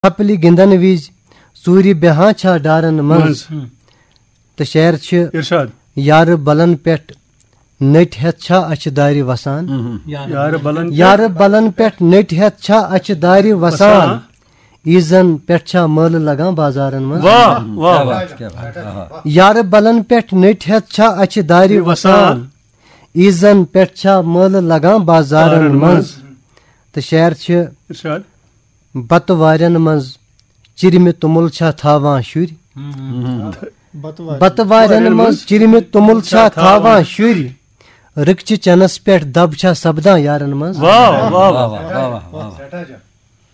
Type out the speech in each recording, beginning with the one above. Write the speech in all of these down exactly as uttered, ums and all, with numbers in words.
چھپلہِ گِنٛدن وِزِ ژوٗرِ بیہان چھا ڈارن منٛز؟ منٛز۔ تہٕ شعر چھِ، ارشاد۔ یارٕ بلن پٮ۪ٹھ نٔٹۍ ہٮ۪تھ چھا اَچھِ دارِ وسان؟ مہم۔ یارٕ بلن پٮ۪ٹھ۔ یارٕ بلن پٮ۪ٹھ نٔٹۍ ہٮ۪تھ چھا اَچھِ دارِ وسان؟ وسان۔ عیٖزن پٮ۪ٹھ چھا مٲلہٕ لگان بازارن منٛز؟ واہ، واہ، کیا واہ۔ بات، کیا بات، آہا۔ یارٕ بلن پٮ۪ٹھ نٔٹۍ ہٮ۪تھ چھا اَچھِ دارِ وسان؟ وسان۔ عیٖزن پٮ۪ٹھ چھا مٲلہٕ لگان بازارن بازارن منٛز؟ منٛز۔ تہٕ شعر چھِ، ارشاد۔ بتہٕ وارٮ۪ن منٛز چِرمہِ توٚمُل چھا تھاوان شُرۍ؟ مہم۔ بتہٕ وارٮ۪ن منٛز چِرمہِ توٚمُل چھا تھاوان شُرۍ؟ رٕکچہِ چنس پٮ۪ٹھ دب چھا سپدان یارن منٛز؟ واہ، واہ، واہ، واہ۔ واہ، واہ، واہ۔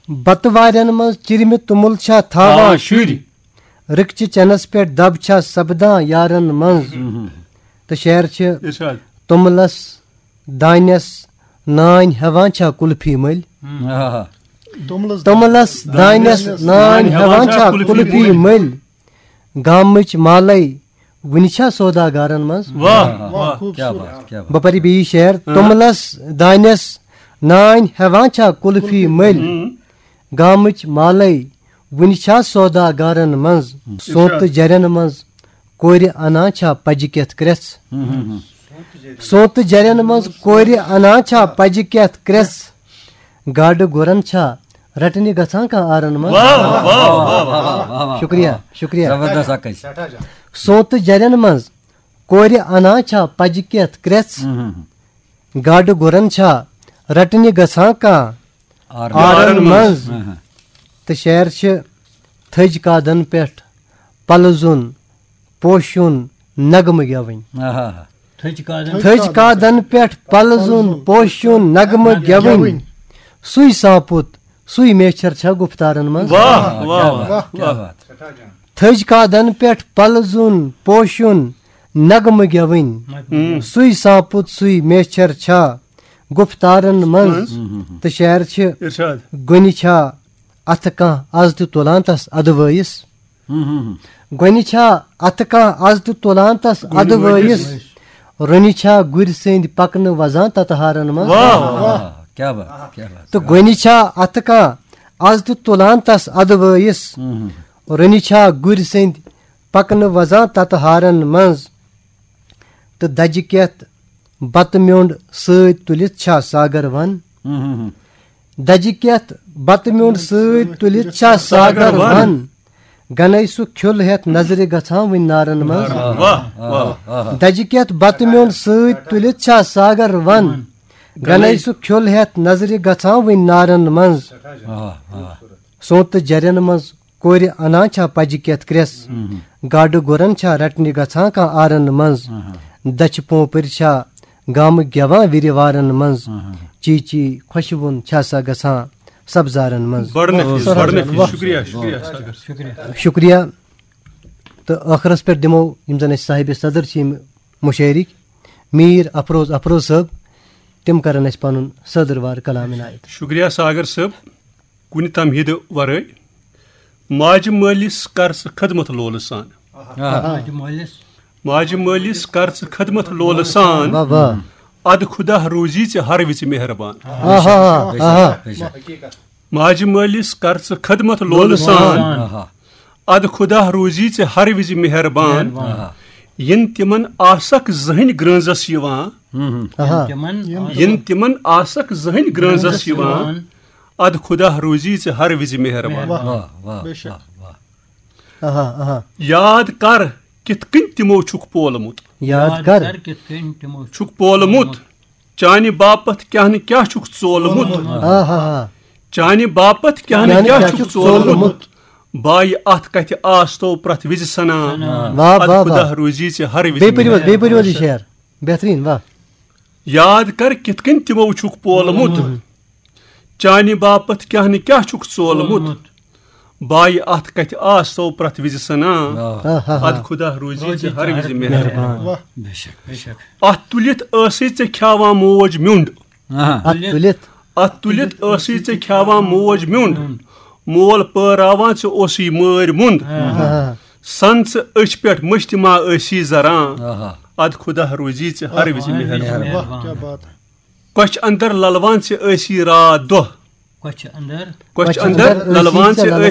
بتہٕ وارٮ۪ن منٛز چِرمہِ توٚمُل چھا تھاوان تھاوان شُرۍ؟ شُرۍ۔ رٕکچہِ چنس پٮ۪ٹھ دب چھا سپدان یارن منٛز؟ مہم۔ تہٕ شعر چھِ، ارشاد۔ توٚملس دانٮ۪س نانۍ ہٮ۪وان چھا کُلفی مٔلۍ؟ آہا۔ توٚملس توٚملس دانٮ۪س نانۍ ہٮ۪وان چھا کُلفی مٔلۍ؟ گامٕچ مالے وُنہِ چھا سوداگارن منٛز؟ واہ، واہ، واہ۔ کیا بات، کیا بات۔ بہٕ پرٕ بیٚیہِ شعر۔ ہاں۔ توٚملس دانٮ۪س نانۍ ہٮ۪وان چھا کُلفی مٔلۍ؟ ہم۔ گامٕچ مالے وُنہِ چھا سوداگارن منٛز؟ ہم۔ سونتہٕ جرٮ۪ن منٛز کورِ انان چھا پجہِ کٮ۪تھ کرٛٮ۪ژھ؟ ہم، ہم، ہم۔ سونتہٕ جرٮ۪ن منٛز کورِ انان چھا پجہِ کٮ۪تھ کرٛٮ۪ژھ؟ گاڈٕ گُرن چھا رٹنہِ گژھان کانٛہہ آرن منٛز؟ واہ، واہ، واہ، واہ، واہ۔ شُکریہ، شُکریہ۔ زبردست اکھ أسۍ۔ سونتہٕ جرٮ۪ن منٛز کورِ انان چھا پجہِ کٮ۪تھ کرٛٮ۪ژھ؟ ہم، ہم، ہم۔ گاڈٕ گُرن چھا رٹنہِ گژھان کانٛہہ آرن آرن منٛز؟ منٛز۔ ہم، ہم۔ تہٕ شعر چھِ، تھٔج کادن پٮ۪ٹھ پلزُن پوشُن نغمہٕ گٮ۪وٕنۍ۔ آہا۔ تھٔج کادن۔ تھٔج کادن پٮ۪ٹھ پلزُن پوشُن نغمہٕ گٮ۪وٕنۍ۔ سُے سانپُت، سُے میچھر چھا گُفتارن منٛز؟ واہ، واہ، واہ، کیا واہ۔ بات۔ تھٔج کادن پٮ۪ٹھ پلزُن پوشُن نغمہٕ گٮ۪وٕنۍ۔ ہم۔ سُے سانپُت، سُے میچھر چھا گُفتارن منٛز؟ منٛز۔ تہٕ شعر چھِ، ارشاد۔ گۄنہِ چھا اتھٕ کانٛہہ از تہِ تُلان تس ادوٲیِس؟ ہم، ہم، ہم۔ گۄنہِ چھا اتھٕ کانٛہہ از تہِ تُلان تس گۄنہِ ادوٲیِس؟ وٲیِس۔ رۄنہِ چھا گُرۍ سٕنٛدۍ پکنہٕ وزان تتہٕ ہارن منٛز؟ واہ، واہ، واہ۔ کیا بات، کیا بات۔ تہٕ گۄنہِ چھا اتھٕ کانٛہہ از تہِ تُلان تس ادوٲیِس؟ ہم، ہم۔ رۄنہِ چھا گُرۍ سٕنٛدۍ پکنہٕ وزان تتہٕ ہارن منٛز؟ تہٕ دجہِ کٮ۪تھ بتہٕ میوٚنٛڈ سۭتۍ تُلِتھ چھا ساگر ون؟ ہم، ہم، ہم۔ دجہِ کٮ۪تھ بتہٕ میوٚنٛڈ سۭتۍ تُلِتھ چھا ساگر ون؟ گنے سُہ کھیُل ہٮ۪تھ نظرِ گژھان وٕنۍ نارن منٛز۔ واہ، واہ، واہ۔ دجہِ کٮ۪تھ بتہٕ میوٚنٛڈ سۭتۍ تُلِتھ چھا ساگر ون؟ گنے سُہ کھیُل ہٮ۪تھ نظرِ گژھان وٕنۍ نارن منٛز۔ واہ، واہ۔ سونتہٕ جرٮ۪ن منٛز کورِ انان چھا پجہِ کٮ۪تھ کرٛٮ۪س؟ مہم۔ گاڈٕ گُرن چھا رٹنہِ گژھان کانٛہہ آرن منٛز؟ اہا۔ دچھِ پوپٕرۍ چھا گامہٕ گٮ۪وان وِرِ وارن منٛز؟ اہا۔ چی چی خۄشوُن چھا سا گژھان سبزارن منٛز؟ بڑٕ نفیٖس، بڑٕ نفیٖس۔ واہ۔ شُکریہ، شُکریہ، ساگر۔ شُکریہ۔ تہٕ ٲخرس پٮ۪ٹھ دِمو یِم زن اَسہِ صاحبِ صدر چھِ یِم مُشٲعرٕکۍ، میٖر افروز افروز صٲب، تِم کرن اَسہِ پنُن صدٕروار کلام عنایت۔ شُکریہ ساگر صٲب۔ کُنہِ تمہیٖدٕ ورٲے۔ ماجہِ مٲلِس کر ژٕ خدمت لولہٕ سان۔ آہا۔ ماجہِ مٲلِس۔ ماجہِ مٲلِس کر ژٕ خدمت لولہٕ سان۔ واہ، واہ۔ ادٕ خدا روزی ژےٚ ہر وِزِ مہربان۔ آہا، آہا۔ بے شک، بے شک۔ ماجہِ مٲلِس کر ژٕ خدمت لولہٕ سان۔ آہا۔ ادٕ خدا روزی ژےٚ ہر وِزِ مہربان۔ مہربان۔ یِن تِمن آسکھ زٕہٕنۍ گرٛٲنٛزس یِوان۔ ہم، ہم۔ آہا۔ یِن تِمن یِن تِمن آسکھ زٕہٕنۍ گرٛٲنٛزس یِوان۔ ادٕ خدا روزی ژےٚ ہر وِزِ مہربان۔ واہ، واہ، بے شک۔ واہ، واہ۔ آہا، آہا۔ یاد کر کِتھ کٔنۍ تِمو چھُکھ پولمُت۔ یاد کر۔ کِتھ کٔنۍ تِمو چھُکھ پولمُت۔ چانہِ باپتھ کیٛاہ نہٕ کیٛاہ چھُکھ ژولمُت۔ آہا، آہا۔ چانہِ باپتھ کیٛاہ نہٕ کیٛاہ چھُکھ ژولمُت۔ بایہِ اتھ کتھِ آستو پرٛٮ۪تھ وِزِ سنان۔ واہ، ادٕ واہ، خدا واہ۔ روزی ژےٚ ہر وِزِ بیٚیہِ پٔرِو حظ، مہربان۔ بیٚیہِ پٔرِو حظ یہِ شعر۔ بہتریٖن، واہ۔ یاد کر کِتھ کٔنۍ تِمو چھُکھ پولمُت۔ چانہِ باپتھ کیٛاہ نہٕ کیٛاہ چھُکھ ژولمُت۔ ژولمُت۔ بایہِ اتھ کتھِ آستو پرٛٮ۪تھ وِزِ سنان۔ آہ۔ آہ، آہ، آہ۔ ادٕ خدا روزی ژےٚ ہر وِزِ مہربان۔ مہربان۔ واہ۔ بے شک، بے شک۔ اتھ تُلِتھ ٲسٕے ژےٚ کھیاوان موج میوٚنٛڈ۔ آہا۔ اتھ تُلِتھ۔ اتھ تُلِتھ ٲسٕے ژےٚ کھیاوان موج میوٚنٛڈ۔ مول پٲراوان ژےٚ اوسُے مٲرۍ مُنٛد۔ آہا۔ سن ژٕ أچھ پٮ۪ٹھ مٔشتہِ ما ٲسی زران۔ آہا۔ ادٕ خدا روزی ژےٚ ہر وِزِ مہربان۔ واہ، کیا بات ہے۔ کۄچھِ اندر للوان ژےٚ ٲسی راتھ دۄہ۔ کۄچھِ اندر۔ کۄچھِ اندر للوان چھِ أسۍ